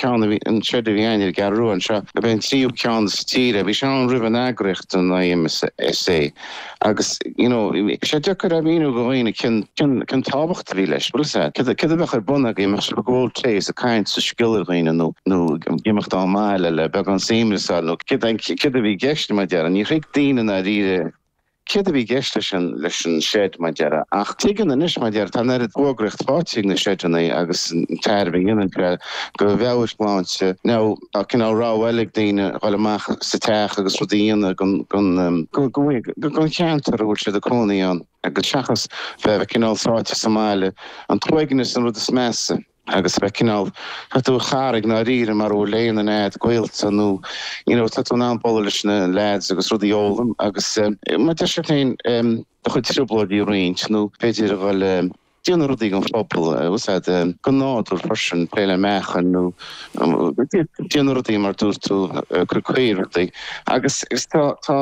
Ceann a bhí, an seid a bhí againn ar an gCeathrú Rua anseo, ab é an tríú ceann sa tír é. Bhí sé ann roimh an eagraíocht, an IMSA, agus, you know, bhí sé deacair a mhíniú do dhaoine cén, cén, cén tábhacht a bhí leis, bhfuil fhios a'd. Céard, céard a bheadh ar bun againn, mbeadh sibh ag ól tae is ag caint is ag scéal ar dhaoine nó, nó ag imeacht ón mbaile le beagán suaimhneas a fháil nó céard, céard a bhí i gceist, mar a déarfá. Níor thuig daoine i ndáiríre Céard a bhí i gceist leis an leis an seid, mar a déarfá? Ach tuigeann anois, mar a déarfá, tá an oiread fuagraíocht faighte ag na seideanna agus an tairbhe a dhéanann sé do mheabhairshláinte. Now, tá cineál rogha eile ag daoine dhul amach sa teach agus rudaí a dhéanamh don don don cheantar a bhfuil siad ag cónaí ann agus seachas bheith cineál sáite sa mbaile. An t-uaigneas an rud is measa. agus bheith cineál, tá tú ar charraig i ndáiríre mara bhfuil aon duine a'd, gaolta nó you know tá tú in ann bualadh leis na lads agus rudaí a fhoghlaim agus mar a deir siad féin do chuid trioblóidí a roinnt nó b'fhéidir a dhul déanamh rudaí don phobal, bhfuil fhios a'd, don nádúr freisin, plé le meáchain nó déanamh rudaí mar dúirt tú, cur caor rudaí agus tá tá.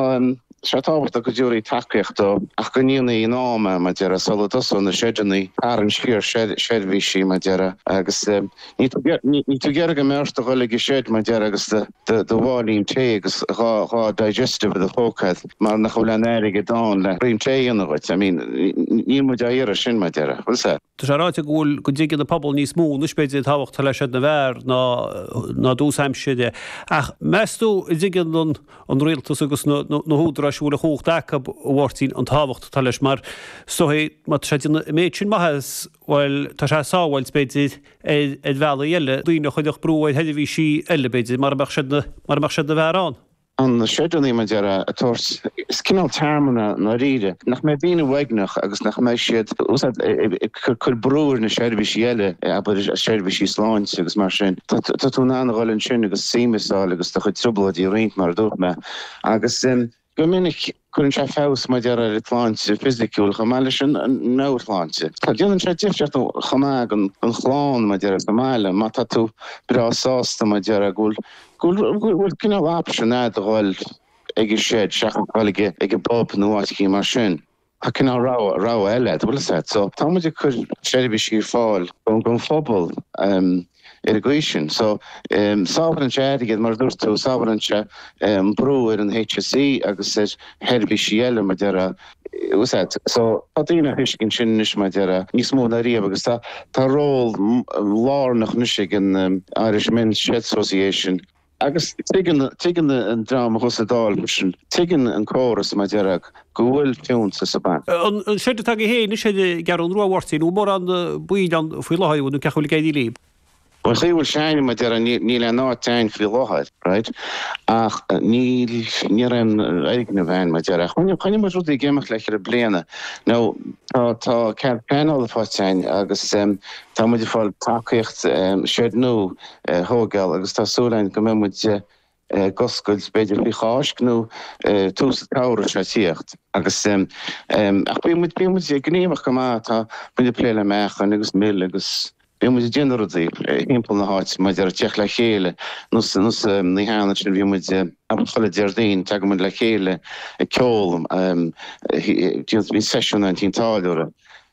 sé tábhachtach go dtabharfaí tacaíocht dó ach go ndéanfaí in am é, mar a déarfá, sula dtosóidh na seideanna tarraingt siar seirbhísí, mar a déarfá, agus níl tú ag iarraidh go mbeadh ort a dhul ag an seid, mar a déarfá, agus do mháilín tae agus 2 digestive i do phóca agat mar nach bhfuil aon airgead ann le braon tae a dhéanamh dhuit. I mean, níl muid á iarraidh sin, mar a déarfá. Bhfuil fhios a'd? Tá sé ráite go bhfuil, go dtuigeann an pobal níos mó anois, b'fhéidir, an tábhacht atá le Seid na bhFear ná ná i dtús aimsire. Ach meas tú an dtuigeann an an rialtas agus na na húdaráis a bhfuil an chumhacht acu, a Mháirtín, an tábhacht atá leis? Mar is dóigh, má tá sé ag déanamh an méid sin maitheas, bhuel, tá sé ag sábháilt, b'fhéidir, ar ar bhealaí eile, daoine a chuirfeadh brú ar sheirbhísí eile, b'fhéidir, mara mbeadh Seid na mara mbeadh Seid na bhFear ann. na seideanna, mar a déarfá, a thabhairt, is cineál tearmann é i ndáiríre, nach mbeidh daoine uaigneach agus nach mbeidh siad ag cur brú ar na seirbhísí eile, abair seirbhísí sláinte agus mar sin. Tá tú in ann a dhul ansin agus suaimhneas a fháil agus do chuid trioblóidí a roinnt, mar a dúirt mé. Agus go minic cuireann sé feabhas, mar a déarfá, ar an tsláinte fisiciúil chomh maith leis an meabhairshláinte. Tá, déanann sé difríocht chomh maith don chlann, mar a déarfá, sa mbaile, má tá tú breá sásta, mar a déarfá, go bhfuil Go bhfuil cineál option a'd a dhul ag an shed seachas dhul ag ag an bpub nó áit eicínt mar sin. Tá cineál rogha, rogha eile a'd, bhfuil fhios a'd. So tá muid ag cur seirbhísí ar fáil don phobal ar an gcaoi sin. So sábhálann sé airgead mar a dúirt tú, sábhálann sé an brú ar an HSE agus ar sheirbhísí eile mar a déarfá. Bhfuil fhios a'd. So tá daoine á thuiscint sin anois mar a déarfá níos mó ná riamh agus tá tá ról lárnach anois ag an Irish Men's Shed Association agus tuigeann tuigeann an dream a thuas sa Dáil freisin, tuigeann an córas mar a déarfá go bhfuil fiúntas ag baint. An seid atá agaibh féin anois ar an gCeathrú Rua, a Mháirtín, an bhfuil mórán baill ann faoi láthair nó cén chaoi a bhfuil ag éirí libh? An chaoi a bhfuil sé a'inn, mar a déarfá, níl aon áit a'inn faoi láthair, right, ach níl, ní raibh aon fhoirgneamh a'inn, mar a déarfá. Choinnigh, choinnigh muid rudaí ag imeacht le cheithre bliana. Now, tá, tá cead pleanála faighte a'inn agus tá muid ag fáil tacaíocht seid nua a thóigeáil agus tá súil a'inn go mbeidh muid ag oscailt b'fhéidir faoi Cháisc nó tús an tsamhraidh seo ag tíocht. Agus ach bíonn muid, bíonn muid gníomhach go maith, tá muid ag plé le meáchain agus mil agus bíonn muid ag déanamh rudaí thimpeall na háite maidir le teacht le chéile nó sa nó sa oíche ansin bhí muid abair chuile Déardaoin tagann muid le chéile ag ceol bíonn seisiún ann tigh an táilliúra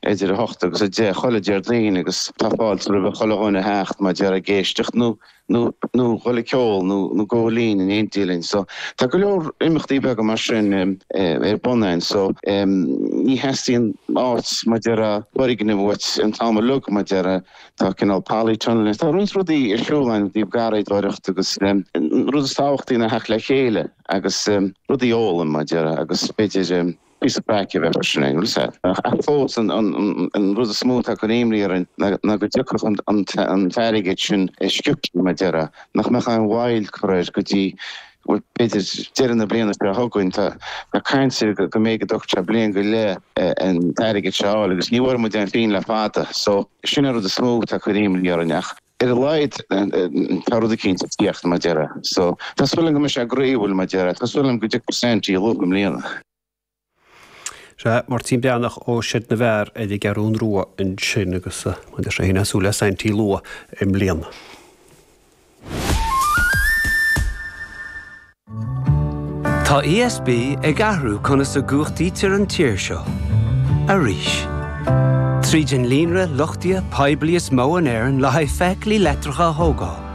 idir 8 agus 10 chuile Déardaoin agus tá fáilte roimh chuile dhuine a theacht mar a déarfá ag éisteacht nó nó nó dhul ag ceol nó nó gabháil fhoinn in éindí linn. So tá go leor imeachtaí beaga mar sin ar bun a'inn. So ní theastaíonn áit mar a déarfá foirgneamh uait an t-am uilig mar a déarfá. Tá cineál polytunnel, tá roinnt rudaí ar siúl a'inn i dtaobh garraíodóireacht agus an rud is tábhachtaí ná theacht le chéile agus rudaí a fhoghlaim mar a déarfá agus b'fhéidir píosa craic a bheith freisin a'inn, bhfuil 'fhios a'd. Ach fós, an rud is mó atá ag cur imní orainn ná go dtiocfadh an t-airgead sin sciobtha, mar a déarfá, nach mbeadh aon mhoill curtha air go dtí, bhuel, b'fhéidir deireadh na bliana seo chugainn. Tá caint ar go mbeidh go dtógfaidh sé bliain go leith an t-airgead seo a fháil agus ní bhfuair muid aon phingin le fada. So, sin an rud is mó atá ag cur imní orainn ach. Ar a laghad tá rud eicínt ag tíocht, mar a déarfá. So, tá súil agam go mbeidh sé groíúil, mar a déarfá. Tá súil agam go dtiocfaidh Saintí luath i mbliana. Sea, Máirtín Breathnach ó Seid na bhFear ar an gCeathrún Rua ansin agus mar a deir sé féin ag súil le Saintí luath i mbliana. Tá ESB ag athrú conas a gcumhachtaítear an tír seo. Arís. Tríd an líonra luchtaithe poiblí is mó in Éirinn le haghaidh feithiclí leictreacha a thógáil.